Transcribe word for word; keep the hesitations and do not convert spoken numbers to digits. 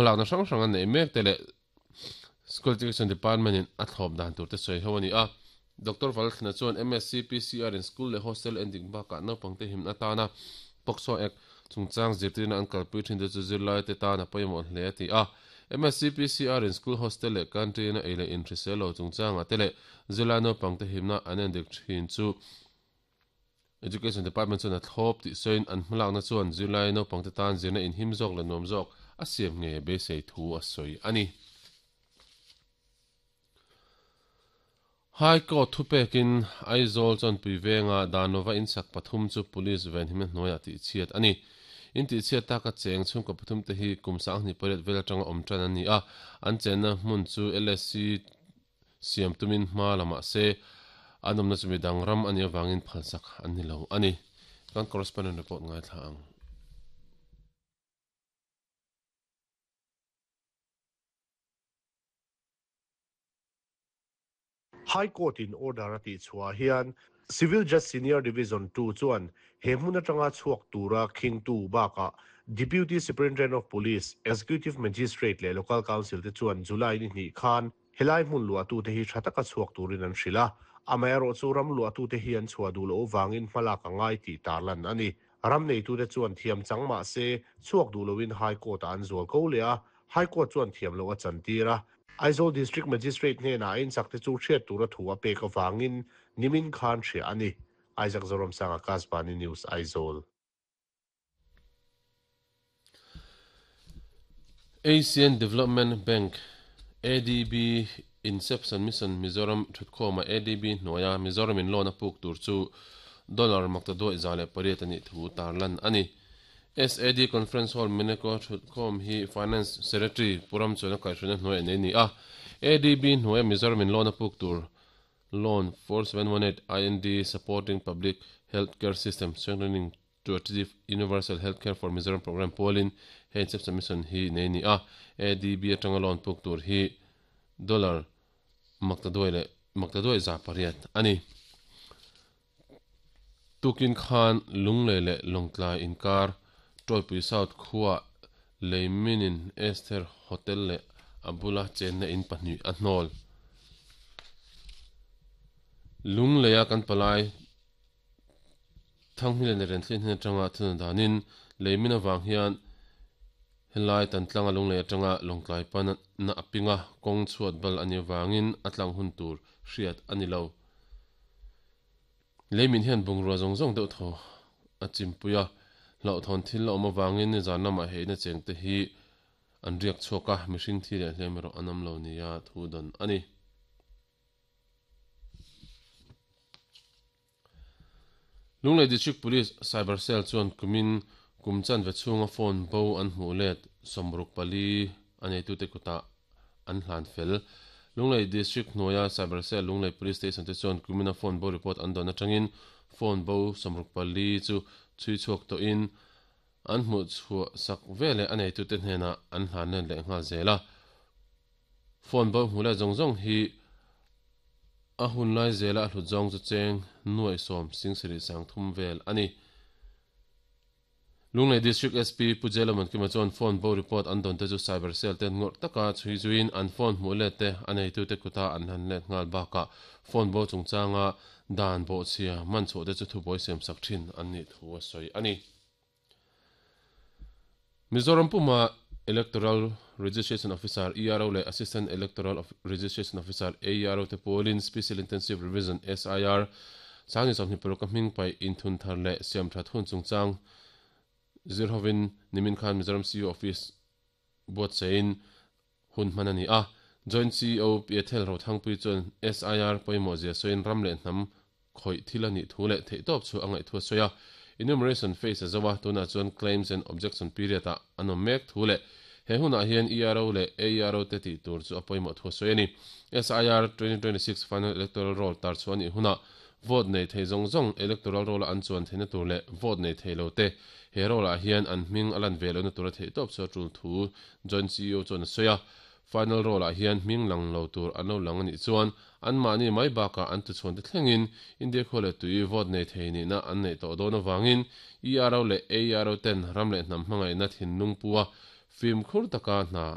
Hmalakna hrang hrang an nei mek te leh School Education Department in a thlawp dan tur te sawi ho ani a. Doctor Valthlana chuan M S C P C R in school leh hostel endik bakah naupangte himna atana POCSO Act chungchang zirtirna an kalpui thin te chu zirlai te tan a pawimawh hle a ti a. M S C P C R in school hostel leh canteen a ei leh inhrisel lo chungchangah te leh zirlai naupangte himna an endik thin chu Education Department chuan a thlawp tih sawiin an hmalakna chuan zirlai naupangte tan zirna inhim zawk leh nuam zawk a siam nge beisei thu a sawi ani. High Court thupekin Aizawl chuan puivenga Danova insak pathum chu police ven himna hnuaiah tih chhiat ani. In tih chhiat taka cheng chhungkaw pathum te hi kum sanghnih pariat vel atanga awm tan ani a, an chenna hmun chu L S C siam tumin hma lamah se an awmna chu midang ram ani awangin phalsak an ni lo ani. Kan correspondent report ngai thla ang. High Court in order a tih chhuah hian Civil Judge Senior Division two chuan he hmun atanga chhuak tura khing tu bakah Deputy Superintendent of Police, Executive Magistrate leh Local Council te chuan July ni hnih khan helai hmun luah tu te hi thataka chhuak turin an hrila amaherawh chu ram luah tu te hi an chhuah duh lo wangin hmalak angai tih tarlan ani. Ram nei tu te chuan thiam chang ma se chhuak duh loin High Court an zual ko le a High Court chuan thiam lo a chantira Aizawl District Magistrate hne na in sakte chu hriat tura thu a pek awangin nimin khan hria ani. Isaac Zoram Sanga Kasbani News Aizawl. Asian Development Bank A D B Inception Mission Mizoram thutkhawma A D B hnuaia Mizoram in loan a puk tur chu dollar makta duai za leh pariat ani thu tarlan ani. S A D Conference Hall Mineko thutkhawm hi Finance Secretary Puram chuan a kaihhruina hnuai nei ni a. A D B hnuaia Mizoram in loan a puk tur loan four seven one eight I N D supporting public healthcare system strengthening to achieve universal healthcare for Mizoram program polin he Inception Mission hi nei ni a. A D B atanga loan puk tur hi dollar makta duai leh makta duai za pariat ani. Tukin khan lungle le longtlai inkar Toipui South khuwa leiminin Esther Hotel le abula chenna in pahnih a hnawl. Lungleia kan palai thanghmile ne ren thlin hin atanga thuna danin leimin awang hian helai tan tlanga lunglei atanga longtlai pan na apinga kawng chhuat bal ani wangin atlang hun tur hriat ani lo. Leimin hian bungrua zawng zawng deuh thaw a chimpuia hlauh thawn thil a awm awangin zan lamah heina cheng te hi an riak chhuak a mihring thi leh hlem erawh an awm lo nia thu dawn ani. Lunglei District Police Cyber Cell chuan kumin kumchan ve chhunga phone bo an hmuh let sawmruk pali a neitu te kuta an hlan fel. Lunglei District hnuaia Cyber Cell Lunglei Police Station te chuan kumina phone bo report an dawn atangin phone bo sawmruk pali chu chui chhuak tawhin an hmuh chhuah sak vele a neitu te hnenah an hlan let leh nghal zel a. Phone bo hmuh leh zawng zawng hi a hun lai zela a hlut zawng chu cheng nuai sawm singsarih sang thum vel ani. Lunglei District S P Pujela Mankima chuan phone bo report an dawn te chu cyber cell ten ngawrh taka chhui zuin an phone hmuh let te a neitu te kuta an han let nghal bakah phone bo chungchanga dan bawh chhia man chhuah te chu thubuai siam sak thin an nih thu a sawi ani. Mizoram Puma Electoral Registration Officer E R O leh Assistant Electoral Registration Officer A E R O te pawlin Special Intensive Revision S I R sangni sawmhnih paruk a hming pai inthun thar leh siam that hun chungchang zirhovin nimin khan Mizoram C E O Office buat sein hun hman ani a. Joint C E O Piathel Rothangpui chuan S I R pawimawh zia sawiin ram leh hnam khawih thil ani thu leh theih tawp chu a ngaih thu a sawi a. Enumeration phase a zawa tunah chuan claims and objection period a an awm mek thu leh he hunah hian E R O leh A E R O te tih tur chu a pawimawh thu a sawi ani. S I R twenty twenty-six final electoral roll tar chu ani hunah vote nei thei zawng zawng electoral roll a an chuan theihna tur leh vote nei thei lo te he roll ah hian an hming a lan ve lohna tur a theih tawp chu a tul thu Joint C E O chuan a sawi a. Final roll ah hian hming lang lo tur an lo lang ani chuan an mahni mai bakah an tuchhuan te thlengin India khaw leh tui vote nei thei nihna an nei tawh dawn awangin E R O leh A E R O ten ram leh hnam hmangaihna thinlung pua fim khur taka hna